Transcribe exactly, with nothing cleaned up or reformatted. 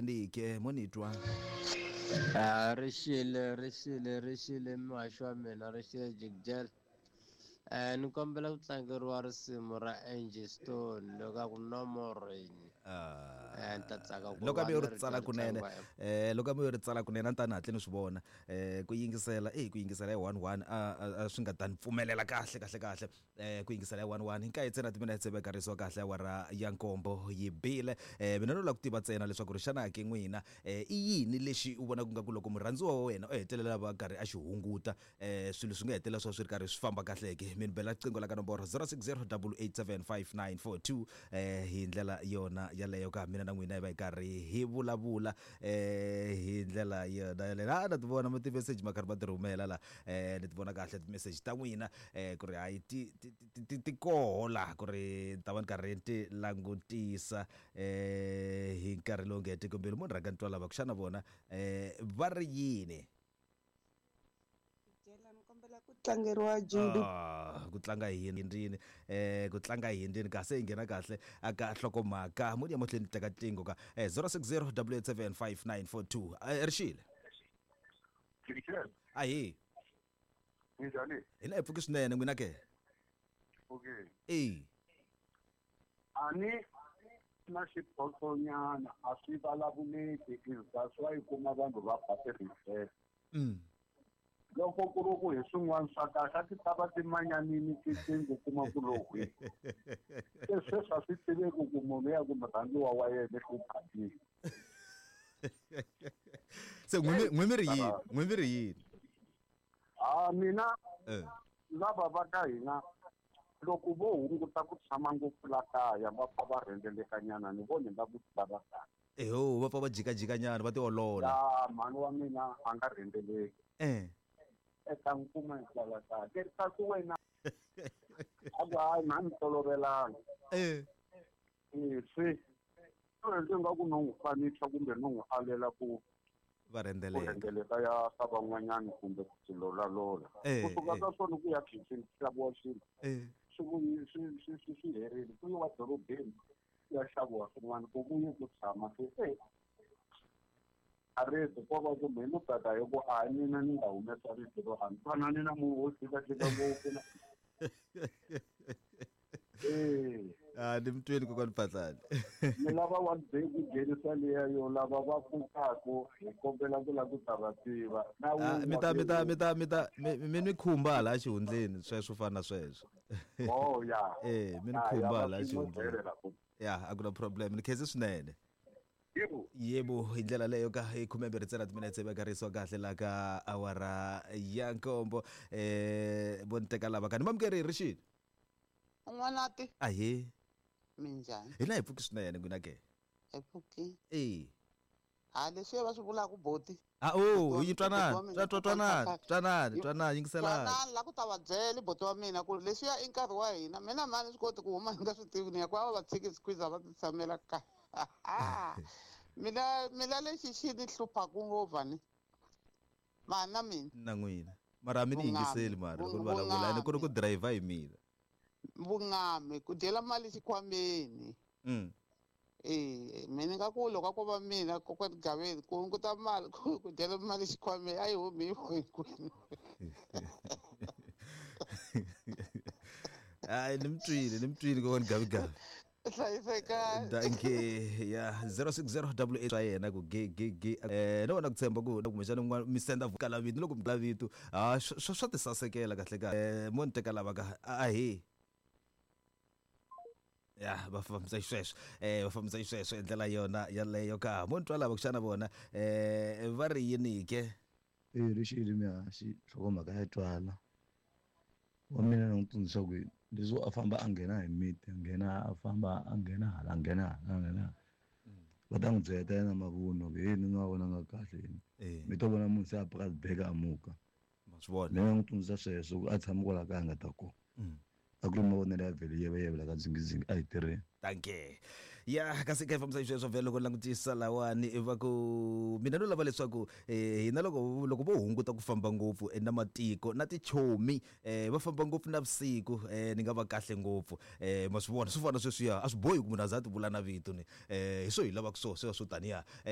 yini ke mo ni twa a rixile rixile rixile muhaxi wa mina rixile jigjel eh ni kombela ku tlangeriwa risimu ra Angie Stone loko a ku no more rain eh ni ta tsaka ku loko a va mi yo ni ri ri tsala twa ri kunene tlangiwa eh loko a mi yo ri tsala kunene a ni ta ni hatle ni swi vona eh ku yingisela eh ku yingisela hi one one a a- a swi nga ta ni pfumelela kahle kahle kahle eh ku yingisela hi one one hi ntsena timinetse vekarisiwa kahle awara ya nkombo yi bile eh mina no lava ku tiva ntsena leswaku ri xana ke n'wina eh i yini lexi u vonaka nga ku loko murhandziwa wa wena u hetelela va karhi a xi hunguta eh swilo swi nga hetelela swa swi ri karhi swi famba kahle ke mi ni bela riqingho la ka nomboro zero six zero double eight seven five nine four two eh hi ndlela yona yaleyo ka mina na n'wina hi va hi karhi hi vulavula eh hi ndlela yona yaleyo a na ti vona ma ti-message ma karhi ma ti rhumela la eh ni ti vona kahle ti-message ta n'wina eh ku ri hayi ti ti ti- ti ti koho laha ku ri ni ta va ni karhi ni ti langutisa eh hi nkarhi lowu nga hetiki mbilu mo ni rhanga ni twa lava ku xana vona eh va ri yini Jela ni kombela ku tlangeriwa Judy Ah, ku tlanga hi hindini eh ku tlanga hi hindini kasi hi nghena kahle aka nhlokomhaka mo ni ya mahlweni ni teka tingo ka eh zero six zero double eight seven five nine four two eh rixile Jigjel, ahi ninjhani? hina hi pfuki swinene n'wina ke Okay. e A ni na xiphoxonyana a swi vulavuleki is that's why u kuma vanhu va ba ti-reverse. mm Loko ku ri ku hi swin'wana swa kahle a ti ta va ti manyanini tiqingho kuma ku lo hwi. Se sweswi a swi tiveki ku munhu ya ku murhandziwa wa yena i hluphatile. se n'wi n'wi mi ri yini n'wi mi ri yini Ah mina eh lava va ka hina loko vo hunguta ku tshama ngopfu la kaya va pfa va rhendzelekanyana ni vona nga ku va va kahle. eho va pfa va jikajikanyana va tiolola Ya mhani wa mina a nga rhendzeleki. eh Eka nkuma hikwalaho kaya ke kasi wena a ku hayi mhani tolovelanga eh e se ndzi nga ku no n'wi fanisa kumbe no n'wi alela ku va ku rhendzeleka rhendzeleka ya ka van'wanyana kumbe ku tilolalola Eh, kusuka eh. ka swona ku ya khichini ku xaviwa swilo eh swi vuyi swi swi swi swi herile ku yiwa dorobeni ku ya xaviwa swin'wana ku vuyi ku tshama se e a rito ko va ku me no tata hi ku a mina ni nga humesa rito ro a ni twanani na munhu wo jikajika ngopfu na eh ah ni mi twini kokwani Phahlane ni lava one day ku nghenisa liya yo lava va pfukaku hi kombela ku lava ku ta va tiva na Ah, mi ta mi ta mi ta mi ta mi mi ni khumba hala xihundleni sweswo fana na sweswo oh ya Eh, mi ni Ya, ya, khumba va hala swi xihundleni helela ku ya a ku na problem ni khense swinene yebo yebo hi ndlela leyo ka hi khumembirhi ntsena timinetse vekarisiwa kahle la ka awara ya nkombo eh vo ni teka lava ka ni mamukeri rixile n'wanati ahe minjhani hina hi pfuki swinene n'wina ke hi pfuki e ha leswiya va swi vulaka boti a o yi Boti wa twanani mina, twa- twa- twanani kokwana twanani Yi- twanani yingiselani twanani la ku ta va byela boti wa mina ku leswiya i nkarhi wa hina mina mani swi koti ku huma ni nga swi tivi ni ya ku va va tshiki squeeze va ti tshamela kaya mina mina lexi xi ni hluphaku ngopfu ni mani na mina na n'wina mara a mi ni Vungami. yingiseli mara loko ni Vung- vulavula ene ku ri ku vungami. dirayivha hi mina vungami ku dyela mali xikhwameni mm Eh, mina nga ku loko a ko va mina kokwani Gaveni ku hunguta mali ku ku dyela mali xikhwameni a yi humi yi kwini hayi ni mi twile ni mi twile kokwani gavigavi hlayisekani danke ya zero six zero double eight swa yena ku ge ge ge eh no vona ku tshemba ku kumbexana un'wana mi senda kala vito loko mi kala vito ha swa swa ti sasekela kahle kahle eh mo ni teka lava ka ahe ya va fambisa xisweswo eh va fambisa xisweswo hi ndlela yona yaleyo ka mo ni twa lava ku xana vona eh va ri yini ke E rixile mihaxi nhlokomhaka ya twala wa mina ni n'wi tsundzuxa ku leswo a famba a nghena hi miti a nghena a famba a nghena hala a nghena hala a nghena hala va ta n'wi byela ta yena mavunwa ku hey ni nga vonanga kahle yini eh mi to vona munhu se a paka tibeke a muka ma swi vona mina n'wi tsundzuxa sweswo ku a tshami kwala kaya a nga ta kona Mm. a ku ri mavonelo ya vhele yeveyeve la ka dzingizingi a hi tirheni danke ya kasi ka hi fambisa xisweswo vhele loko ni langutisa lawani va ku mina no lava leswaku eh, hina loko loko vo hunguta ku famba ngopfu eh, na matiko na tichomi eh, va famba ngopfu navusiku eh, ni nga va kahle ngopfu eh, ma swi vona swi fana sweswiya a swi bohi ku munhu a za a ti vula na vito ni eh, hi swo hi lavaka swo sweswo swo taniya eh,